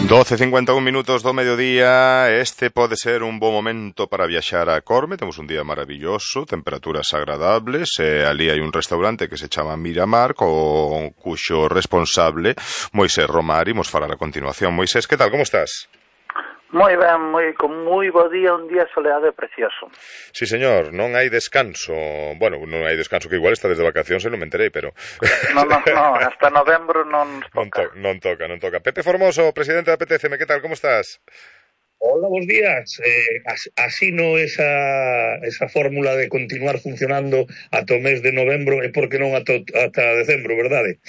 12:51 do mediodía. Este pode ser un bo momento para viaxar a Corme. Temos un día maravilloso, temperaturas agradables, ali hai un restaurante que se chama Miramar, cuxo responsable Moisés Romar. Imos falar a continuación. Moisés, que tal, como estás? Moi ben, con moi bo día, un día soleado e precioso. Sí, señor, non hai descanso. Bueno, non hai descanso, que igual está desde vacacións e non me enterei, pero... No, hasta novembro non toca. Non toca. Pepe Formoso, presidente da PTCM, que tal, como estás? Hola, bons días. Así no esa fórmula de continuar funcionando ata o mes de novembro e por que non ata decembro, verdade?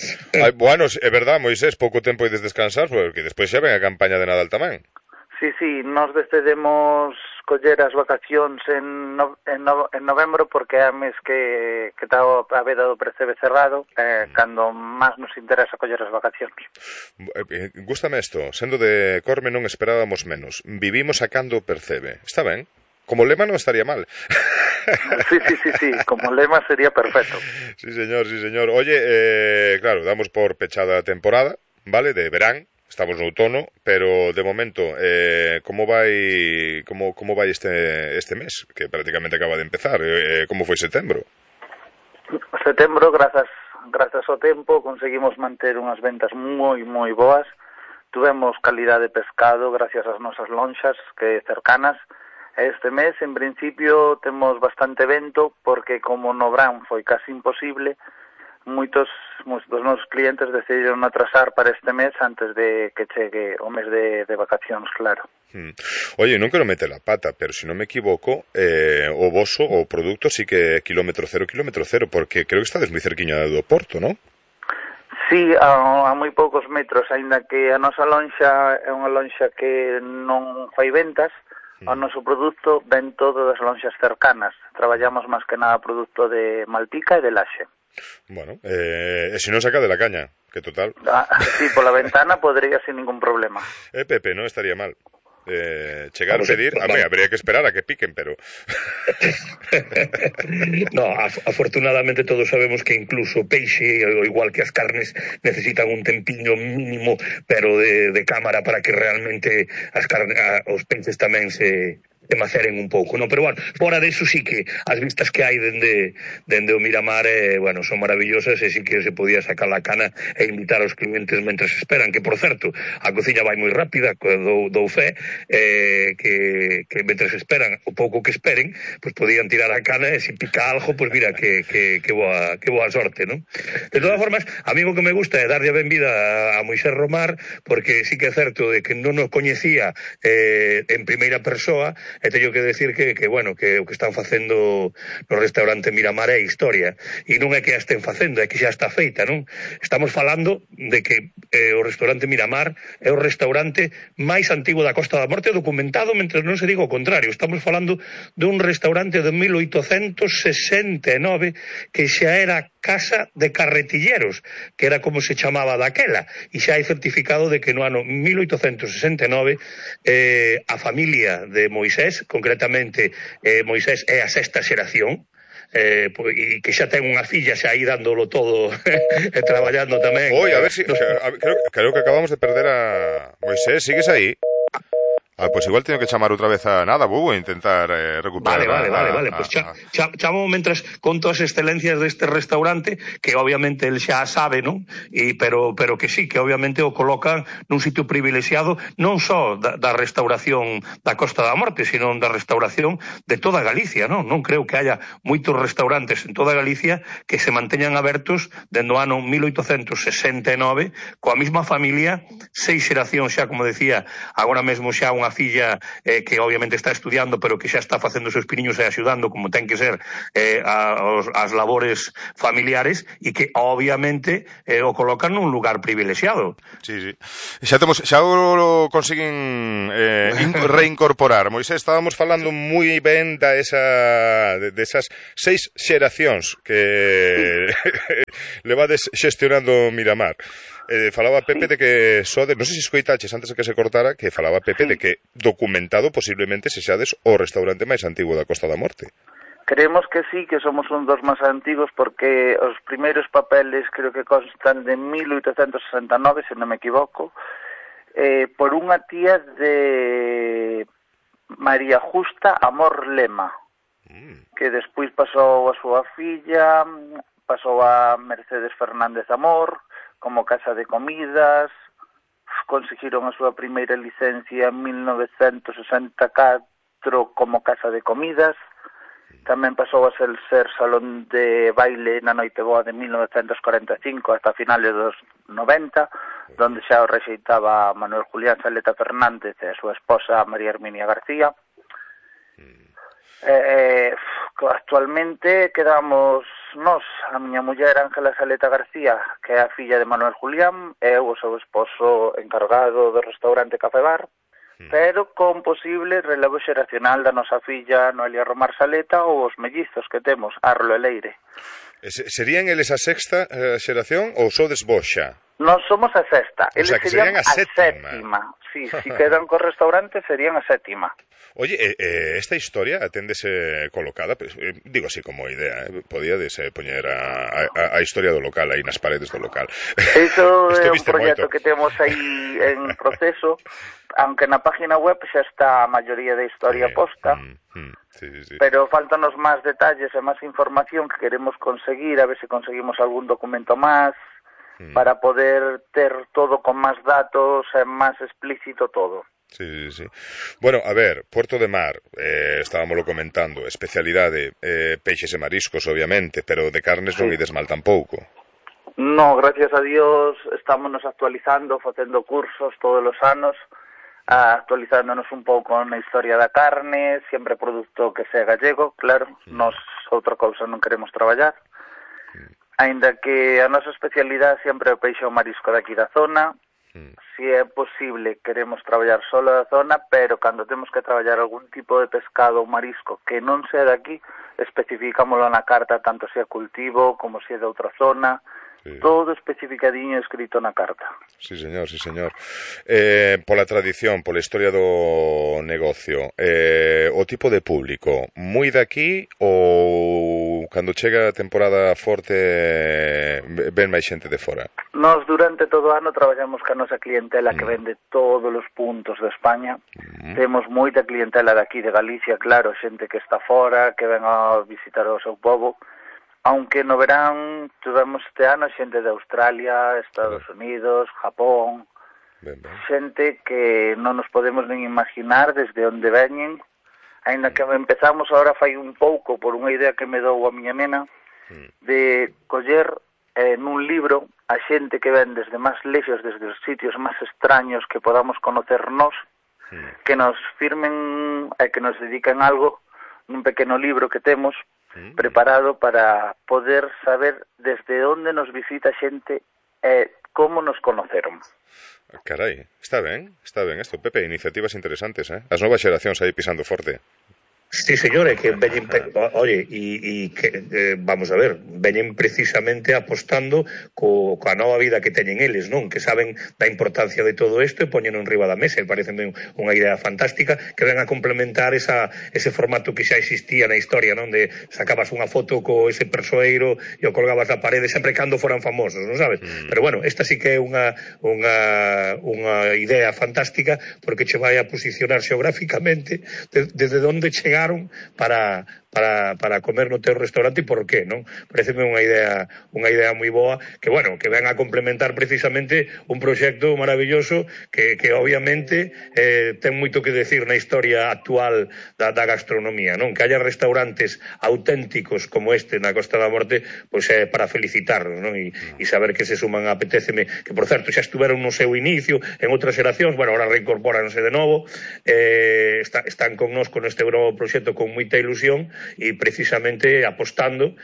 Bueno, é verdade, Moisés, pouco tempo ides descansar, porque despois xa ven a campaña de Nadal tamén. Sí, nos decidimos coller as vacacións en novembro porque é a mes que está a veda do Percebe cerrado, cando máis nos interesa coller as vacacións. Gústame isto, sendo de Corme non esperábamos menos. Vivimos sacando o Percebe. Está ben? Como lema non estaría mal. Sí, como lema sería perfecto. Sí, señor. Oye, claro, damos por pechada a temporada, vale, de verán. Estamos no outono, pero de momento, como vai este mes, que prácticamente acaba de empezar? Como foi setembro? Setembro, grazas ao tempo, conseguimos manter unhas ventas moi boas. Tuvemos calidad de pescado gracias ás nosas lonxas que cercanas. Este mes, en principio, temos bastante vento, porque como no verán foi casi imposible, moitos dos nosos clientes decidiron atrasar para este mes antes de que chegue o mes de vacacións, claro. Oye, non quero meter a pata, pero se non me equivoco, o voso, o produto, sí que é kilómetro cero, porque creo que estades moi cerquiña do Porto, non? Sí, a moi poucos metros, aínda que a nosa lonxa é unha lonxa que non fai ventas, o noso produto ven todo das lonxas cercanas. Traballamos máis que nada produto de Malpica e de Laxe. Bueno, se non saca de la caña, que total. Sí, pola ventana podría sin ningún problema. Pepe, non estaría mal. Chegar a pedir, habría que esperar a que piquen, pero... No, afortunadamente todos sabemos que incluso o peixe, igual que as carnes, necesitan un tempiño mínimo, pero de cámara para que realmente os peixes tamén se maceren un pouco, non? Pero bueno, fora deso sí que as vistas que hai dende o Miramar, bueno, son maravillosas e sí que se podía sacar a cana e invitar aos clientes mentres esperan, que por certo, a cociña vai moi rápida, dou fe, que mentres esperan, o pouco que esperen, pois podían tirar a cana e se pica algo, pois mira, que boa sorte, non? De todas formas, a mí o que me gusta é darlle a benvida a Moisés Romar, porque sí que é certo de que non nos coñecía en primeira persoa, e teño que decir que bueno, que o que están facendo no restaurante Miramar é historia, e non é que a estén facendo, é que xa está feita, non? Estamos falando de que o restaurante Miramar é o restaurante máis antigo da Costa da Morte documentado, mentre non se diga o contrario. Estamos falando dun restaurante de 1869 que xa era Casa de Carretilleros, que era como se chamaba daquela, e xa hai certificado de que no ano 1869 a familia de Moisés, concretamente Moisés é a sexta xeración, e que xa ten unha filla xa aí dándolo todo e traballando tamén. Oi, a ver si creo que acabamos de perder a Moisés, sigues aí? Pois igual teño que chamar outra vez a Bubu e intentar recuperar. Vale, pois chamo mentras conto as excelencias deste restaurante, que obviamente el xa sabe, non? Pero que sí, que obviamente o colocan nun sitio privilexiado non só da restauración da Costa da Morte, sino da restauración de toda Galicia, non? Non creo que haya moitos restaurantes en toda Galicia que se manteñan abertos dende o ano 1869 coa mesma familia, 6 xeracións xa, como decía, agora mesmo xa unha filla que obviamente está estudiando, pero que xa está facendo os seus piniños e axudando como ten que ser as labores familiares, e que obviamente o colocan nun lugar privilexiado. Sí. Xa o consiguen reincorporar. Moisés, estábamos falando moi ben desas 6 xeracións que levades xestionando Miramar. Falaba Pepe de que non sei se escoitaches antes de que se cortara, que falaba Pepe de que documentado posiblemente se xades o restaurante máis antigo da Costa da Morte. Creemos que sí, que somos un dos máis antigos, porque os primeiros papeles creo que constan de 1869, se non me equivoco, por unha tía de María Justa Amor Lema, que despois pasou a súa filla, pasou a Mercedes Fernández Amor, como casa de comidas, conseguiron a súa primeira licencia en 1964 como casa de comidas, tamén pasou a ser salón de baile na Noite Boa de 1945 hasta finales dos 90, donde xa o rexeitaba Manuel Julián Saleta Fernández e a súa esposa María Herminia García. Actualmente quedamos nós, a miña muller Ángela Saleta García, que é a filla de Manuel Julián, e eu o seu esposo encargado do restaurante Café Bar, pero con posible relevo xeracional da nosa filla Noelia Romar Saleta ou os mellizos que temos, Arlo e Leire. Serían eles a sexta xeración ou sodes vos xa? Nós somos a sexta, eles serían a sétima. Si quedan co restaurante serían a sétima. Oye, esta historia aténdese colocada, pues, digo así como idea, podíades poñer a historia do local aí nas paredes do local. Iso é un proxecto que temos aí en proceso, aunque na página web xa está a maioría da historia posta, sí. Pero faltanos máis detalles e máis información que queremos conseguir, a ver se conseguimos algún documento máis, para poder ter todo con máis datos e máis explícito todo. Sí. Bueno, a ver, Puerto de Mar, estábamoslo comentando, especialidade, peixes e mariscos, obviamente, pero de carnes non ides mal tampouco. No, gracias a Dios, estámonos actualizando, facendo cursos todos os anos, actualizándonos un pouco na historia da carne, sempre produto que sea gallego, claro, nos outra cousa non queremos traballar. Aínda que a nosa especialidade sempre é o peixe ou marisco daqui da zona, si é posible queremos traballar solo da zona, pero cando temos que traballar algún tipo de pescado ou marisco que non sea daqui, especificámoslo na carta, tanto se é cultivo como se é de outra zona, todo especificadiño escrito na carta. Sí, señor. Pola tradición, pola historia do negocio, o tipo de público, moi daqui ou cando chega a temporada forte ven máis xente de fora? Nós durante todo o ano traballamos ca nosa clientela que vende todos os puntos de España. Temos moita clientela daqui de Galicia, claro, xente que está fora, que ven a visitar o seu pobo. Aunque no verán tivemos este ano xente de Australia, Estados Unidos, Japón, xente que non nos podemos nin imaginar desde onde veñen, aínda que empezamos agora fai un pouco por unha idea que me dou a miña nena, de coller nun libro a xente que ven desde máis lexos, desde os sitios máis extraños que podamos conocer nós, que nos firmen e que nos dediquen algo nun pequeno libro que temos, preparado para poder saber desde onde nos visita xente e como nos conoceron. Carai, está ben isto, Pepe, iniciativas interesantes, as novas xeracións aí pisando forte. Sí, señores, que veñen, oye, e que, vamos a ver, veñen precisamente apostando coa nova vida que teñen eles, non? Que saben da importancia de todo isto e poñen en riba da mesa, e parece unha idea fantástica que ven a complementar ese formato que xa existía na historia, non? De sacabas unha foto co ese persoeiro e o colgabas na parede sempre cando foran famosos, non sabes? Pero bueno, esta sí que é unha idea fantástica porque che vai a posicionar xeográficamente desde onde chegaron para comer no teu restaurante e por qué, non? Pareceme unha idea moi boa que, bueno, que ven a complementar precisamente un proxecto maravilloso que obviamente ten moito que decir na historia actual da gastronomía, non? Que haya restaurantes auténticos como este na Costa da Morte, pois é para felicitarnos, non? E saber que se suman, apetéceme, que por certo xa estuveron no seu inicio en outras xeracións, bueno, ahora reincorpóranse de novo, están con nós con este novo proxecto con moita ilusión e precisamente apostando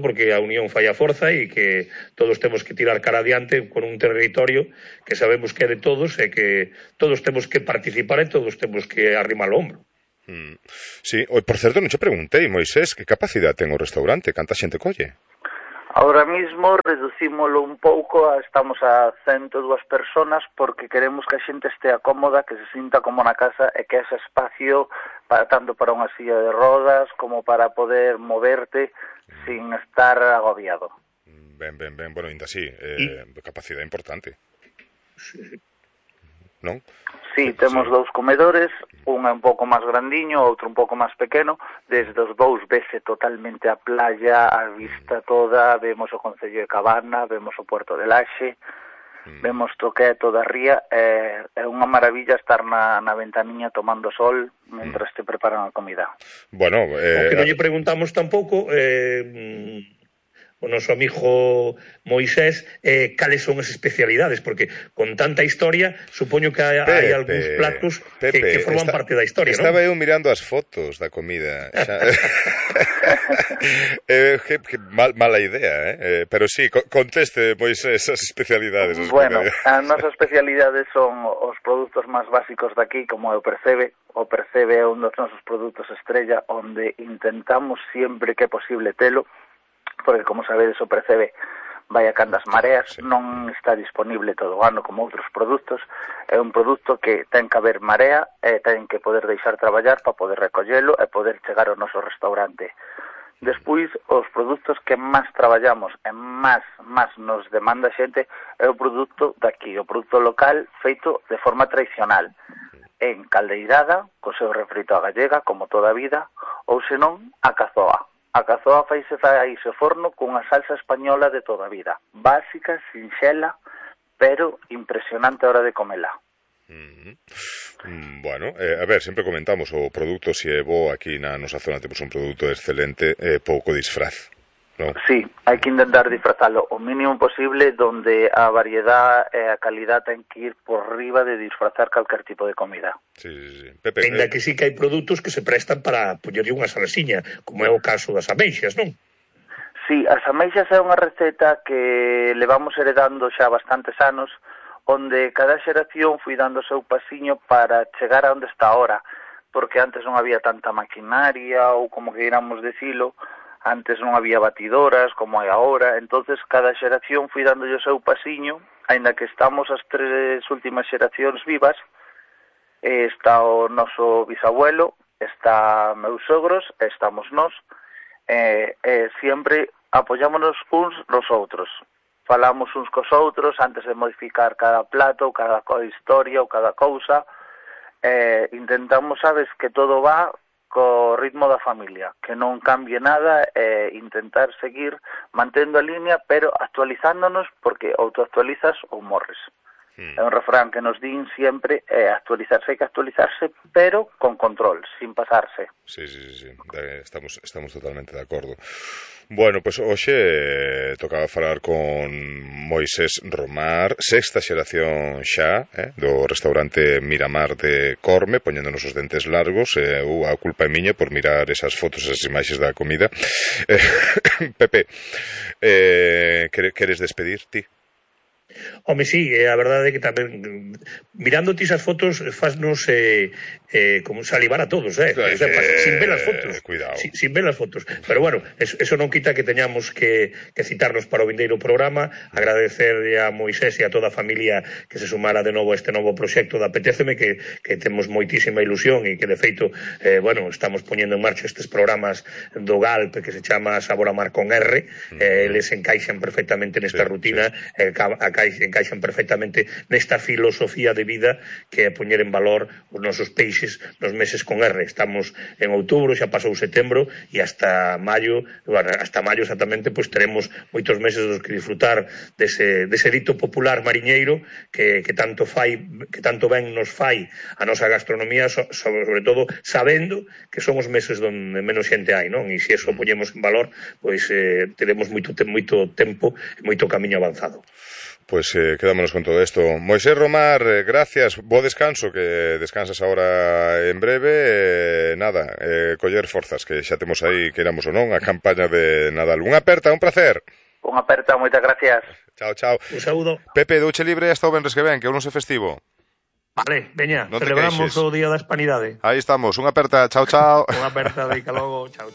porque a unión fai a forza e que todos temos que tirar cara adiante con un territorio que sabemos que é de todos e que todos temos que participar e todos temos que arrimar o hombro. Sí, por certo, non che preguntei, Moisés, que capacidade ten o restaurante, canta xente colle? Ahora mismo reducímolo un pouco, estamos a 102 personas porque queremos que a xente estea cómoda, que se sinta como na casa e que ese espacio tanto para unha silla de rodas como para poder moverte sin estar agobiado. Ben, bueno, ainda así, capacidade importante. Sí. non? Sí, temos dous comedores, un é un pouco máis grandiño, outro un pouco máis pequeno. Desde os dous vese totalmente a playa, a vista toda, vemos o Concello de Cabana, vemos o Puerto de Laxe, vemos o que é toda a ría. É unha maravilla estar na ventaniña tomando sol mentras te preparan a comida. Bueno, o que non lle preguntamos tampouco o noso amigo Moisés cales son as especialidades, porque con tanta historia supoño que hai algúns platos que forman parte da historia, non? Estaba eu mirando as fotos da comida que mala idea, pero sí, conteste, Moisés, esas especialidades. Bueno, as nosas especialidades son os produtos máis básicos daqui, como é o percebe. O percebe é un dos nosos produtos estrella, onde intentamos sempre que é posible telo, porque, como sabedes, o percebe vai a candas mareas, non está disponible todo o ano como outros produtos. É un produto que ten que haber marea e ten que poder deixar traballar para poder recollelo e poder chegar ao noso restaurante. Despois, os produtos que máis traballamos e máis nos demanda a xente é o produto daqui, o produto local feito de forma tradicional, en caldeirada, co seu refrito a gallega, como toda a vida, ou senón a cazoa. A cazoa faise ao forno cunha salsa española de toda a vida. Básica, sinxela, pero impresionante a hora de comela. Bueno, a ver, sempre comentamos o produto, se é bo aquí na nosa zona, temos un produto excelente, pouco disfraz, non? Sí, hai que intentar disfrazalo o mínimo posible, donde a variedad e a calidad ten que ir por riba de disfrazar calquer tipo de comida. Sí. Pepe, ainda que sí que hai produtos que se prestan para poñerlle unha salasiña, como é o caso das ameixas, non? Sí, as ameixas é unha receta que levamos heredando xa bastantes anos, onde cada xeración foi dando o seu pasiño para chegar a onde está ahora, porque antes non había tanta maquinaria, ou como que iramos decilo, antes non había batidoras como hai agora, entonces cada xeración foi dando o seu pasiño, aínda que estamos as tres últimas xeracións vivas. Está o noso bisabuelo, está meus sogros, estamos nós, sempre apoyámonos uns nos outros. Falamos uns cos outros antes de modificar cada plato, ou cada historia, ou cada cousa. Intentamos, sabes, que todo va co ritmo da familia, que non cambie nada, intentar seguir mantendo a línea, pero actualizándonos, porque ou te actualizas ou morres. É un refrán que nos din sempre, actualizarse hai que actualizarse, pero con control, sin pasarse. Sí, estamos totalmente de acordo. Bueno, pois hoxe tocaba falar con Moisés Romar, sexta xeración xa, do restaurante Miramar de Corme, poñéndonos os dentes largos, a culpa é miña por mirar esas fotos, esas imaxes da comida. Pepe, queres despedir ti? Home, sí, a verdade é que tamén mirando ti esas fotos fasnos como salivar a todos, Claro, sin ver as fotos. Cuidado. Sin ver as fotos. Pero bueno, eso non quita que teñamos que citarnos para o vindeiro programa, agradecer a Moisés e a toda a familia que se sumara de novo a este novo proxecto da Apetéceme, que temos moitísima ilusión e que de feito, estamos poñendo en marcha estes programas do GALP que se chama Sabor a Mar con R, eles encaixan perfectamente nesta rutina, encaixan perfectamente nesta filosofía de vida que é poñer en valor os nosos peixes nos meses con R. Estamos en outubro, xa pasou setembro e hasta maio exactamente, pois teremos moitos meses dos que disfrutar dese dito popular mariñeiro que tanto ben nos fai a nosa gastronomía, sobre todo sabendo que son os meses onde menos xente hai, non? E se eso poñemos en valor, pois teremos moito tempo e moito camiño avanzado. Pois quedámonos con todo isto. Moisés Romar, gracias, bo descanso, que descansas ahora en breve. Coller forzas, que xa temos aí, queramos ou non, a campaña de Nadal. Unha aperta, un placer. Unha aperta, moitas gracias. Chao. Un saúdo. Pepe, douche libre hasta o venres que ven, que é un non se festivo. Vale, veña, celebramos o Día da Hispanidade. Aí estamos, unha aperta, chao. Unha aperta, deica logo, chao.